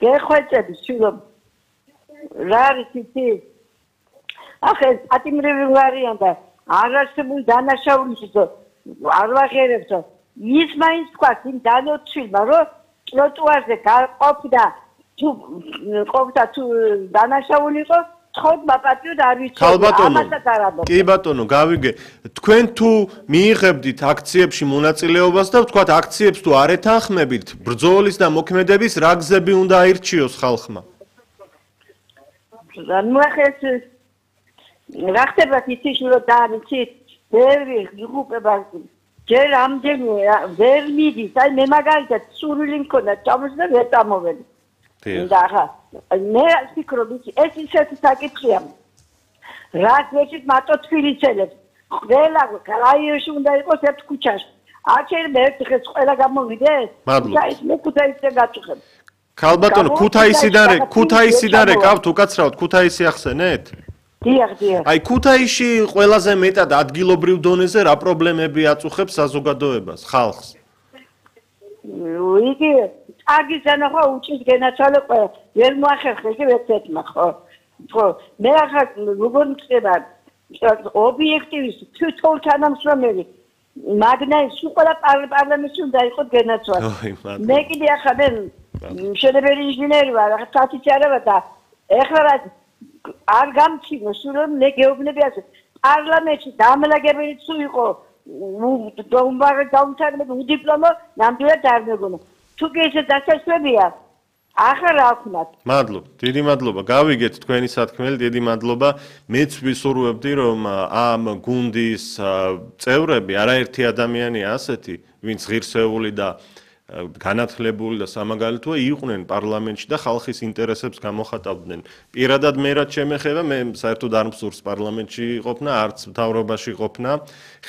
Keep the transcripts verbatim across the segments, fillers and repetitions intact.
გეხვეწები შვილო რა არის იცი ახლა ატიმრები ვარიან და არ არსებული დანაშაულის არ ვაღერებსო ის მაინც თქვა იმ დანოთშილმა რომ ტროტუარზე გაყოფდა თუ ყოფდა თუ დანაშაული იყო თხოდმა პატიოდ არ ვიცოდი ამასაც არ ამბობ კი ბატონო გავიგე თქვენ თუ მიიღებდით აქციებში მონაწილეობას და ვთქვათ აქციებს თუ არ ეთანხმებით ბრძოლის და მოქმედების რა გზები უნდა აირჩიოს ხალხმა ნუ ახლა რა ხდება იცი რომ დაიცით ბევრი გრუპება ჯერ ამდენი ვერ მიდის აი მე მაგალითად სურვილი მქონდა ჩამოსდა ვერ წამოვედი და ახლა მე ვფიქრობ ეს ისეთი საკითხია რაც მეჩით მარტო თბილისელებს ყველა რაიონში უნდა იყოს ერთ ქუჩაში არ შეიძლება ერთ დღეს ყველა გამოვიდეს მადლობა მე ქუთაისზე გაწუხებ ქალბატონო ქუთაისიდან ქუთაისიდან რეკავთ უკაცრავად ქუთაისი ახსენეთ დიახ დიახ აი ქუთაისში ყველაზე მეტად ადგილობრივ დონეზე რა პრობლემები აწუხებს საზოგადოებას ხალხს იგი აგიზანა ხო უჭის გენაცვალე ყველა ვერ მოახერხეს ერთეთმა ხო ხო მე ახლა როგორ მწება ობიექტივის თვითონ თანამშრომელი მაგნაის ყველა პარლამენტში უნდა იყოს გენაცვალე მე კიდე ახლა მე მშენებელი ინჟინერი ვარ ახლა თათიც არა ვარ და ეხლა რა არ გამჩინო სულ მე გეუბნები ასე პარლამენტში დამლაგებელი თუ იყო დომბარე დაუნთარგმნი უდიპლომო ნამდვილად არ მეგონა თუ კი ესე დასაშვებია ახლა რა ვქნათ მადლობა დიდი მადლობა გავიგეთ თქვენი სათქმელი დიდი მადლობა მეც ვისურვებდი რომ ამ გუნდის წევრები არაერთი ადამიანია ასეთი ვინც ღირსეული და განათლებული და სამაგალითოა იყვნენ პარლამენტში და ხალხის ინტერესებს გამოხატავდნენ. პირადად მე რაც შემეხება, მე საერთოდ არ მსურს პარლამენტში ყოფნა, არც მთავრობაში ყოფნა.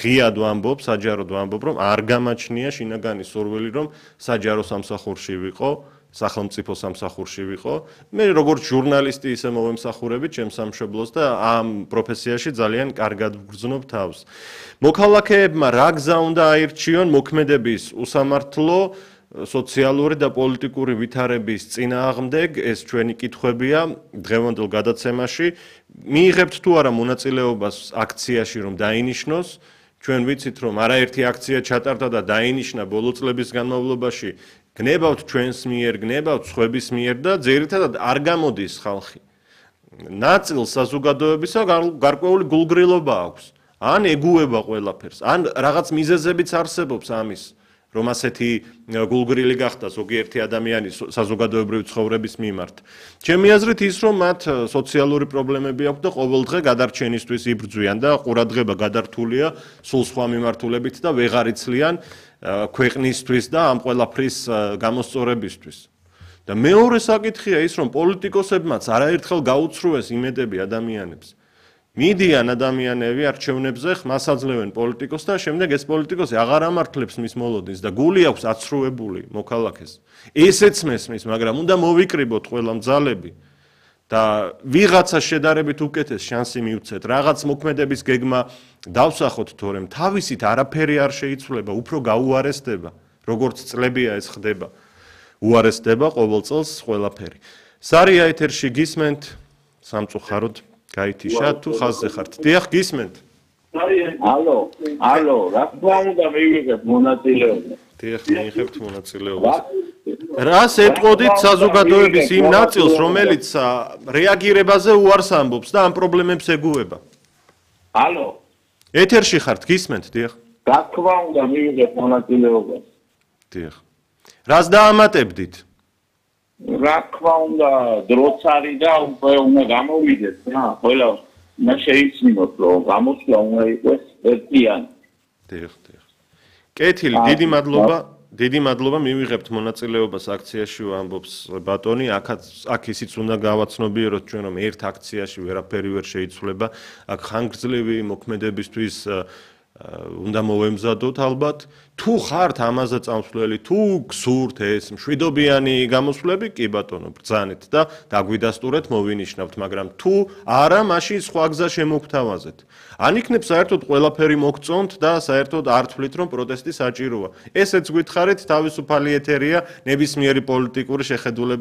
ღიად ვამბობ, საჯაროდ ვამბობ, რომ არ გამაჩნია შინაგანი სურვილი, რომ საჯარო სამსახურში ვიყო, სახელმწიფო სამსახურში ვიყო. მე როგორც ჟურნალისტი ისე მოვემსახურები ჩემს სამშობლოს და ამ პროფესიაში ძალიან კარგად ვგრძნობ თავს. მოქალაქეებმა რა გზა უნდა აირჩიონ მოქმედების უსამართლო სოციალური და პოლიტიკური ვითარების წინააღმდეგ ეს ჩვენი კითხვებია დღევანდელ გადაცემაში მიიღებთ თუ არა მონაწილეობას აქციაში რომ დაინიშნოს ჩვენ ვიცით რომ არაერთი აქცია ჩატარდა და დაინიშნა ბოლო წლების განმავლობაში გნებავთ ჩვენს მიერ გნებავთ სხვების მიერ და ძირითადად არ გამოდის ხალხი ნაწილ საზოგადოებისა გარკვეული გულგრილობა აქვს ან ეგუება ყველაფერს ან რაღაც მიზეზებიც არსებობს ამის რომ ასეთი გულგრილი გახდა ზოგიერთი ადამიანი საზოგადოებრივი ცხოვრების მიმართ. ჩემი აზრით ის რომ მათ სოციალური პრობლემები აქვს და ყოველდღე გადარჩენისთვის იბრძვიან და ყურადღება გადართულია სულ სხვა მიმართულებით და ვეღარ იცლიან ქვეყნისთვის და ამ ყველაფრის გამოსწორებისთვის. და მეორე საკითხია ის რომ პოლიტიკოსებმაც არაერთხელ გაუცრუეს იმედები ადამიანებს. მიდიან ადამიანები არჩევნებზე ხმას აძლევენ პოლიტიკოსს და შემდეგ ეს პოლიტიკოსი აღარ ამართლებს მის მოლოდინს და გული აქვს აცრუებული მოქალაქეს. ესეც მესმის, მაგრამ უნდა მოვიკრიბოთ ყველა მძალები და ვიღაცა შედარებით უკეთეს შანსი მივცეთ, რაღაც მოქმედების გეგმა დავსახოთ, თორემ თავისით არაფერი არ შეიცვლება, უფრო გაუარესდება, როგორც წლებია ეს ხდება. უარესდება ყოველ წელს ყველაფერი. სარია ეთერში გისმენთ სამწუხაროდ გაითიშა თუ ხაზზე ხართ. დიახ, გისმენთ. ალო, ალო, რა თქმა უნდა მივიღებთ მონაწილეობა. დიახ, მივიღებთ მონაწილეობას. რას ეტყოდით საზოგადოების იმ ნაწილს, რომელიც რეაგირებაზე უარს ამბობს და ამ პრობლემებს ეგუება? ალო. ეთერში ხართ, გისმენთ, დიახ. რა თქმა უნდა მივიღებთ მონაწილეობა. დიახ. რას დაამატებდით? რა თქმა უნდა დროც არის და უკვე უნდა გამოვიდეთ რა ყველა უნდა შეიცინოთ რომ გამოსვლა უნდა იყოს ერთიანი დიახ დიახ კეთილი დიდი მადლობა დიდი მადლობა მივიღებთ მონაწილეობას აქციაში ვამბობს ბატონი აქაც აქ ისიც უნდა გავაცნობიეროთ ჩვენ რომ ერთ აქციაში ვერაფერი ვერ შეიცვლება აქ ხანგრძლივი მოქმედებისთვის უნდა მოვემზადოთ ალბათ თუ ხართ ამაზე წამსვლელი თუ გსურთ ეს მშვიდობიანი გამოსვლები კი ბატონო ბრძანეთ და დაგვიდასტურეთ მოვინიშნავთ მაგრამ თუ არა მაშინ სხვა გზა შემოგთავაზეთ ან იქნებ საერთოდ ყველაფერი მოგწონთ და საერთოდ არ თვლით რომ პროტესტი საჭიროა ესეც გითხარით თავისუფალი ეთერია ნებისმიერი პოლიტიკური შეხედულება